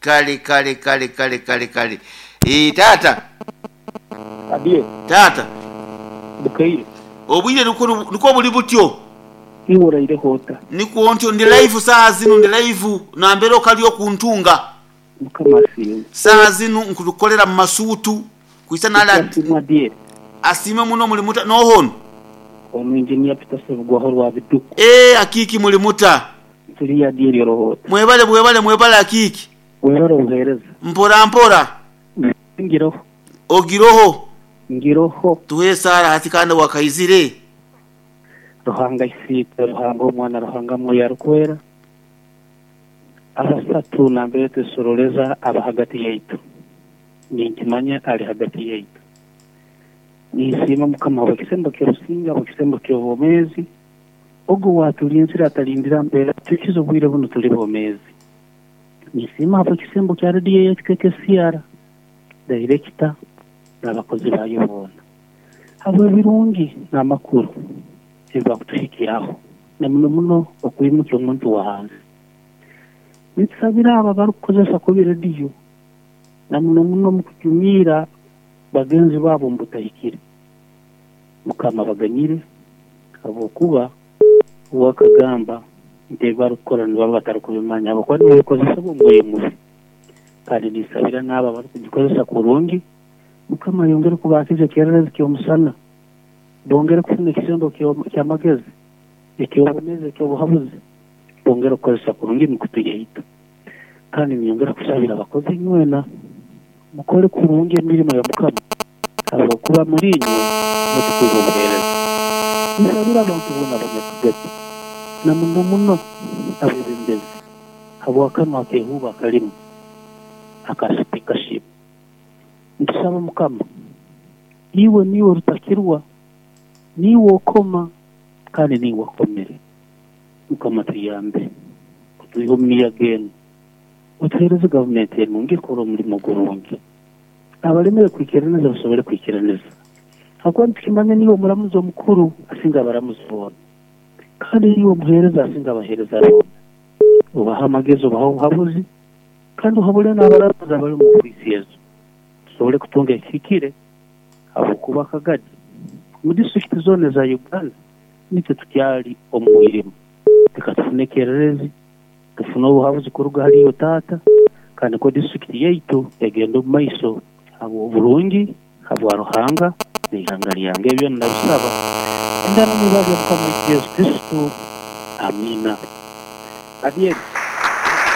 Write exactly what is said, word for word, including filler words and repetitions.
Kale kale kale kale kale kale. Eh, taata. Adie. Taata. Bukaire. Obwire niko niko buli butyo. Iwe oraireho ota? Nikwo ntyo ndi live saa zinu, ndi live nambere okali okuntunga. Mukama asiimwe. Saa zinu nkurukolera mu masuutu kwisa nala. Asiimwe Adie. Asiime muno. Muli muta nohono? Onu engineer Peter Sebugwaho rwa Biduku. Eh, akiki muli muta? Turi Adie ryorohota. Mwebale bwebale mwebale akiki. Webale obuheereza. Mpora mpora. Ngiroho. Ogiroho. Ngiroho. Tuhe sara hati kandi wakaizire. Ruhanga isiitwe, Ruhanga omwana, Ruhanga mwoyo arukwera. Abasatu nambere twesoroleza aba hagati yaitu. Ninkimanya ali hagati yaitu. Ninsiima Mukama habw'ekisembo ky'orusinga, habw'ekisembo ky'obwomeezi. Ogu watulinzire atalindira mbeera tukize obwire buno tuli bwomeezi. Ninsiima habw'ekisembo kya rediyo yaitu K K C R, director n'abakozi bayo boona. Habw'ebirungi n'amakuru ebibakutuhikyaho, na muno muno okwimukya omuntu wa hansi. Nitusabira abo abarikukozesa kubi rediyo, na muno muno mu kujumiira bagenzi baabo omu butahikire. Mukama baganyire, habwokuba uwakagamba nti ebibarikukora nibaba batarikubimanya, habwokuba nibabikozesa omu mubi. Kandi nisabira n'abo abarikugikozesa kurungi, Mukama ayongere kubakiza ekyererezi ky'omusana, bongere kufuna ekisembo ky'amagezi, eky'obwomeezi, eky'obuhabuzi, bongere kukozesa kurungi emikutu yaitu. Kandi niyongera kusabira abakozi inywena, mukole kurungi emirimo ya Mukama, habwokuba muri inywe mutukuza obuheereza. Nisabira abantu boona abanyakigati, na muno muno abebembezi, habw'akanwa akeehuuba akalimu aka speakership. Ntusaba Mukama, iwe niiwe orutakirwa, niiwe okoma, kandi niiwe okomere. Mukama tuyambe, otwihe omu miyaga enu, otuheereze gavumenti enungi ekora omurimo gurungi. Abalemere kwikiraniza basobole kwikiraniza. Hakuba nitukimanya niiwe omuramuzi omukuru asinga abaramuzi boona. Kandi niiwe omuheereza asinga abaheereza boona. Obaha amagezi, obaha obuhabuzi, kandi ohabule n'abaramuzi abari omu ofiisi ezo. Tusobole kutunga ekihikire habwokuba akagadi mu disitulikiti zoona eza Uganda nitwe tukyali omu mwirimu. Reka tufune ekyererezi, tufune obuhabuzi kuruga hali iwe taata, kandi ko disitulikiti yaitu egenda omu maiso habw'oburungi, habwa Ruhanga n'ihanga lyange. Ebyo ndabisaba endana n'ibara lya Mukama waitu Yesu Kristo. Amiina. Adieri.